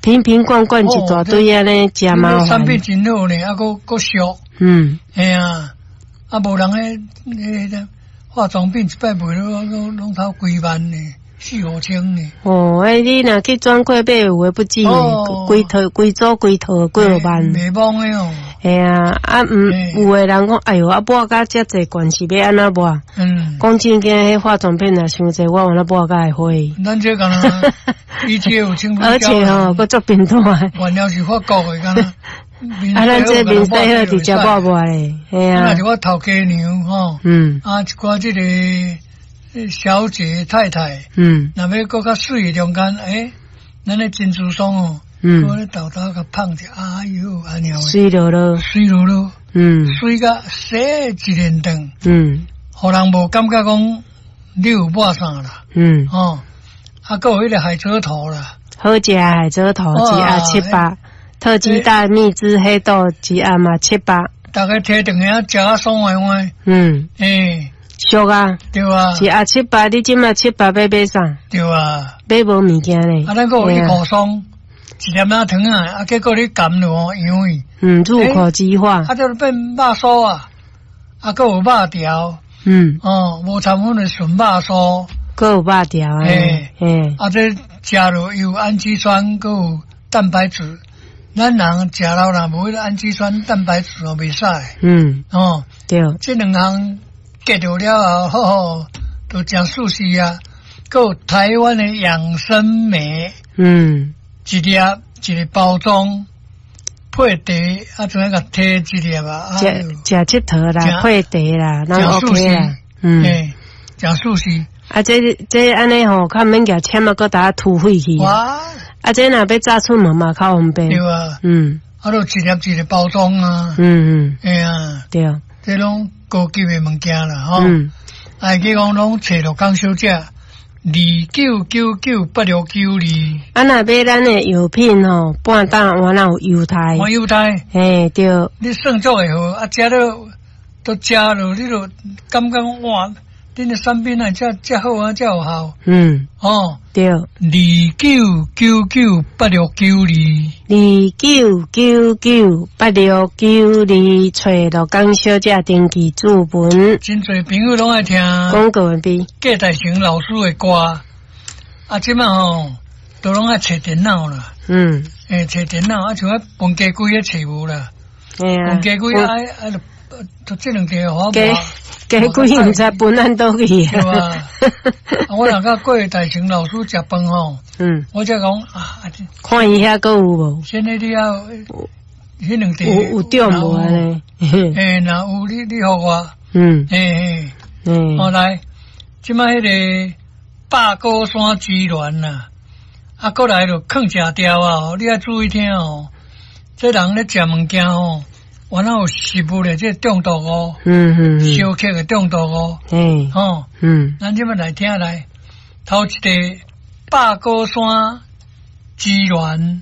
瓶瓶罐罐一大堆按呢，誠麻煩。產品真好呢，啊，閣閣俗。嘿啊，啊，無人彼彼化妝品一擺賣攏攏攏頭幾萬呢，四五千呢。哦，欸，你若去專櫃買有的不止，規套規組規套幾落萬。袂茫的哦。嘿啊，啊，毋有的人講，哎喲，啊，抹甲遮濟罐是欲按怎抹？講正經，彼化妝品若傷濟，我有哪抹甲會花。咱這敢若，以前有清而且吼，閣足貧惰的。原料是法國的，敢若。啊，咱這面洗好直接抹抹咧，嘿啊。若是我頭家娘吼，啊，一寡這个小姐太太，若欲閣較媠的中間，欸，咱的珍珠霜哦，閣咧豆豆共芳者，哎喲，按呢。媠落落，媠落落，媠甲洗一連頓，予人無感覺講你有抹啥啦，吼，啊，閣有彼个海蜇頭啦，好食海蜇頭，一盒七百，特級大蜜汁黑豆一盒嘛七百，逐家提轉去食甲爽歪歪，欸，俗啊，對啊，一盒七百，你這馬七百欲買啥？對啊，買無物件咧。啊，咱閣有一箍霜，一粒仔糖仔，啊，結果你含落吼，溶去，入口即化，啊，就變肉酥啊，啊，閣有肉條，哦，無摻粉的純肉酥，閣有肉條，欸，欸，啊，這食落有氨基酸，閣有蛋白質。咱人食了若無彼个氨基酸、蛋白質哦，袂使。哦，對，這兩項結合了後，吼，都誠舒適啊。閣有台灣的養生莓，一粒一个包裝，配茶啊，怎樣共提一粒啊？食食𨑨迌啦，配茶啦，攏 OK 啦。誠舒適。啊，這這按呢吼，較免共簽啊，閣逐仔吐血去。哇！啊，這若欲早出門嘛較方便。對啊。啊，都一粒一个包裝啊。嘿啊。對。這攏高級的物件啦，吼。啊，記講攏揣鹿港小姐，29998692。啊，若買咱的藥品吼，半擔原來有優待。有優待。嘿，對。你算足會好，啊，食了都食了，你就感覺哇，恁的產品啊，遮遮好啊，遮有效。哦。對。29998692。29998692，揣鹿港小姐登記注文。真濟朋友攏愛聽廣告完畢。郭大成老師的歌，啊，這馬吼都攏愛揣電腦啦。欸，揣電腦啊，像彼分家規彼揣無啦。嘿啊。分家規愛愛就這兩個我家家規毋知分按佗去。對啊。我若佮郭大成老師食飯吼，我才講啊，看伊遐閣有無？現在你要彼兩塊有中無按呢？欸，若有你你予我。欸欸。好來，這馬彼个百果山之戀啦，啊，閣來就囥食條啊！你愛注意聽哦，這人咧食物件吼，原來有食物的這中毒哦，燒客的中毒哦，吼，咱這馬來聽來，頭一個百果山之戀。